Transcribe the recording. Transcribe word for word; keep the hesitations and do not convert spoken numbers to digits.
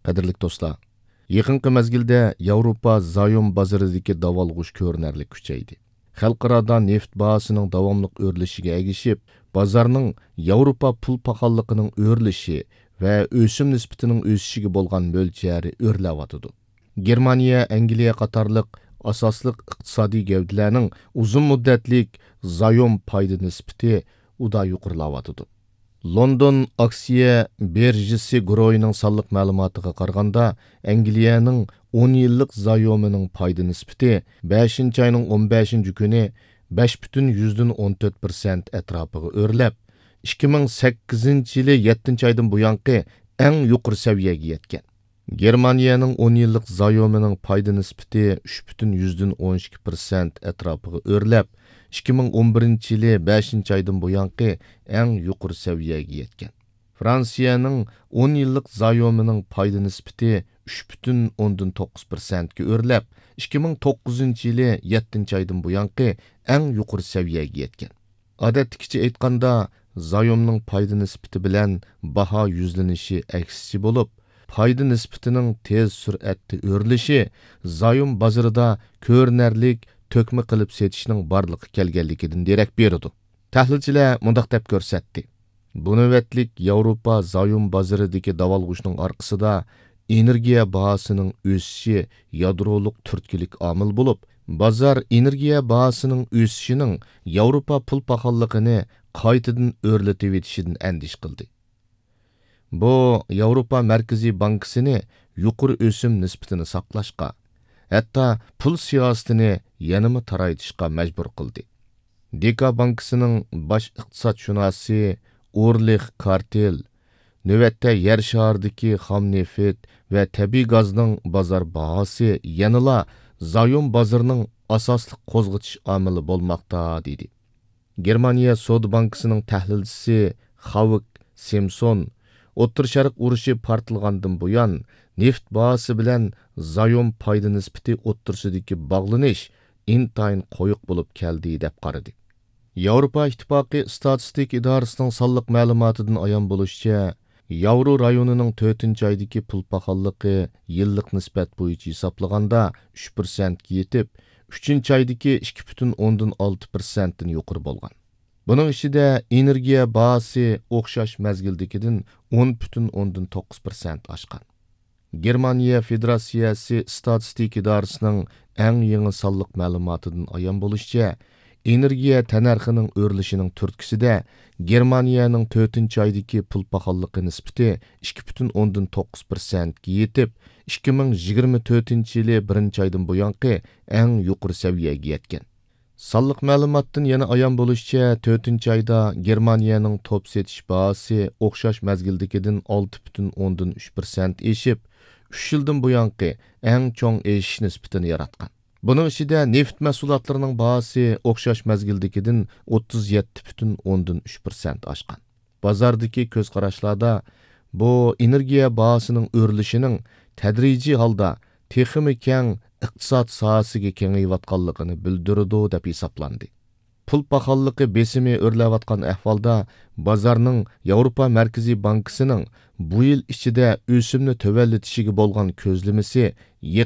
قەدىرلىك دوستلار، يېقىنقى مەزگىلدە ياۋروپا زايوم بازىرىدىكى داۋالغۇش كۆرۈنەرلىك كۈچەيدى. خەلقئارادا نېفىت باھاسىنىڭ داۋاملىق ئۆرلىشىگە ئەگىشىپ، بازارنىڭ ياۋروپا پۇل پاخاللىقىنىڭ ئۆرلىشى ۋە ئۆسۈم نىسبىتىنىڭ ئۆسۈشىگە بولغان مۆلچەرى ئۆرلەۋاتىدۇ. گېرمانىيە، ئەنگلىيە قاتارلىق ئاساسلىق ئىقتىسادىي گەۋدىلەرنىڭ ئۇزۇن مۇددەتلىك زايوم پايدا نىسبىتى ئۇدا يۇقىرىلاۋاتىدۇ. لوندون ئاكسىيە بىرژىسى گۇرۇھىنىڭ سانلىق مەلۇماتىغا قارىغاندا، ئەنگلىيەنىڭ ئون يىللىق زايومىنىڭ پايدا نىسبىتى بەشىنچى ئاينىڭ ئون بەشىنچى كۈنى بەش پۈتۈن يۈزدىن ئون تۆت پىرسەنت ئەتراپىغا ئۆرلەپ، ئىككى مىڭ سەككىزىنچى يىلى يەتتىنچى ئايدىن بۇيانقى ئەڭ يۇقىرى سەۋىيەگە يەتكەن. گېرمانىيەنىڭ ئون يىللىق زايومىنىڭ پايدا نىسبىتى ئۈچ پۈتۈن يۈزدىن ئون ئىككى پىرسەنت ئەتراپىغا ئۆرلەپ، ئىككى مىڭ ئون بىرىنچى يىلى بەشىنچى ئايدىن بۇيانقى ئەڭ يۇقىرى سەۋىيەگە يەتكەن. فرانسىيەنىڭ ئون يىللىق زايومىنىڭ پايدا نىسبىتى ئۈچ پۈتۈن ئوندىن توققۇز پىرسەنتكە ئۆرلەپ، ئىككى مىڭ توققۇزىنچى يىلى يەتتىنچى ئايدىن بۇيانقى ئەڭ يۇقىرى سەۋىيەگە يەتكەن. ئادەتتىكىچە ئېيتقاندا، زايومنىڭ پايدا نىسبىتى بىلەن باھا يۈزلىنىشى ئەكسىچە بولۇپ، پايدا نىسبىتىنىڭ تېز سۈرئەتتە ئۆرلىشى زايوم بازىرىدا كۆرۈنەرلىك تۆكمە قىلىپ سېتىشنىڭ بارلىققا كەلگەنلىكىدىن دېرەك بېرىدۇ. تەھلىلچىلەر مۇنداق دەپ كۆرسەتتى: بۇ نۆۋەتلىك ياۋروپا زايوم بازىرىدىكى داۋالغۇشنىڭ ئارقىسىدا ئېنېرگىيە باھاسىنىڭ ئۆسۈشى يادرولۇق تۈرتكىلىك ئامىل بولۇپ، بازار ئېنېرگىيە باھاسىنىڭ ئۆسۈشىنىڭ ياۋروپا پۇل پاخاللىقىنى قايتىدىن ئۆرلىتىۋېتىشىدىن ئەندىشە قىلدى. بۇ ياۋروپا مەركىزىي بانكىسىنى يۇقىرى ئۆسۈم نىسبىتىنى ساقلاشقا، ھەتتا پۇل سىياسىتىنى يەنىمۇ تارايتىشقا مەجبۇر قىلدى. دېكا بانكىسىنىڭ باش ئىقتىسادشۇناسى ئورلىخ كارتېل نۆۋەتتە يەر شارىدىكى خام نېفىت ۋە تەبىئىي گازنىڭ بازار باھاسى يەنىلا زايوم بازىرىنىڭ ئاساسلىق قوزغىتىش ئامىلى بولماقتا، دېدى. گېرمانىيە سودا بانكىسىنىڭ تەھلىلچىسى خاۋك سىمسون ئوتتۇرا شەرق ئۇرۇشى پارتلىغاندىن بۇيان، نېفىت باھاسى بىلەن زايوم پايدا نىسبىتى ئوتتۇرىسىدىكى باغلىنىش ئىنتايىن قويۇق بولۇپ كەلدى، دەپ قارىدى. ياۋروپا ئىتتىپاقى ئىستاتىستىكا ئىدارىسىنىڭ سانلىق مەلۇماتىدىن ئايان بولۇشىچە، ياۋرو رايونىنىڭ تۆتىنچى ئايدىكى پۇل پاخاللىقى يىللىق نىسبەت بويىچە ھېسابلىغاندا ئۈچ پىرسەنتكە يېتىپ، ئۈچىنچى ئايدىكى ئىككى پۈتۈن ئوندىن ئالتە پىرسەنتتىن يۇقىرى بولغان. بۇنىڭ ئىچىدە ئېنېرگىيە باھاسى ئوخشاش مەزگىلدىكىدىن ئون پۈتۈن ئوندىن توققۇز پىرسەنت ئاشقان. گېرمانىيە فېدېراتسىيەسى ئىستاتىستىكا ئىدارىسىنىڭ ئەڭ يېڭى سانلىق مەلۇماتىدىن ئايان بولۇشىچە، ئېنېرگىيە تەننەرخىنىڭ ئۆرلىشىنىڭ تۈرتكىسىدە گېرمانىيەنىڭ تۆتىنچى ئايدىكى پۇل پاخاللىقى نىسبىتى ئىككى پۈتۈن ئوندىن توققۇز پىرسەنتكە يېتىپ، ئىككى مىڭ يىگىرمە تۆتىنچى يىلى بىرىنچى ئايدىن بۇيانقى ئەڭ يۇقىرى سەۋىيەگە يەتكەن. سانلىق مەلۇماتتىن يەنە ئايان بولۇشىچە، تۆتىنچى ئايدا گېرمانىيەنىڭ توپ سېتىش باھاسى ئوخشاش مەزگىلدىكىدىن ئالتە پۈتۈن ئوندىن ئۈچ پىرسەنت ئېشىپ، ئۈچ يىلدىن بۇيانقى ئەڭ چوڭ ئېشىش نىسبىتىنى ياراتقان. بۇنىڭ ئىچىدە نېفىت مەھسۇلاتلىرىنىڭ باھاسى ئوخشاش مەزگىلدىكىدىن ئوتتۇز يەتتە پۈتۈن ئوندىن ئۈچ پىرسەنت ئاشقان. بازاردىكى كۆز قاراشلاردا بۇ ئېنېرگىيە باھاسىنىڭ ئۆرلىشىنىڭ تەدرىجىي ھالدا تېخىمۇ كەڭ ئىقتىساد ساھەسىگە كېڭىيىۋاتقانلىقىنى بىلدۈرىدۇ، دەپ ھېسابلاندى. پۇل پاخاللىقى بېسىمى ئۆرلەۋاتقان ئەھۋالدا، بازارنىڭ ياۋروپا مەركىزىي بانكىسىنىڭ بۇ يىل ئىچىدە ئۆسۈمنى تۆۋەنلىتىشىگە بولغان كۆزلىمىسى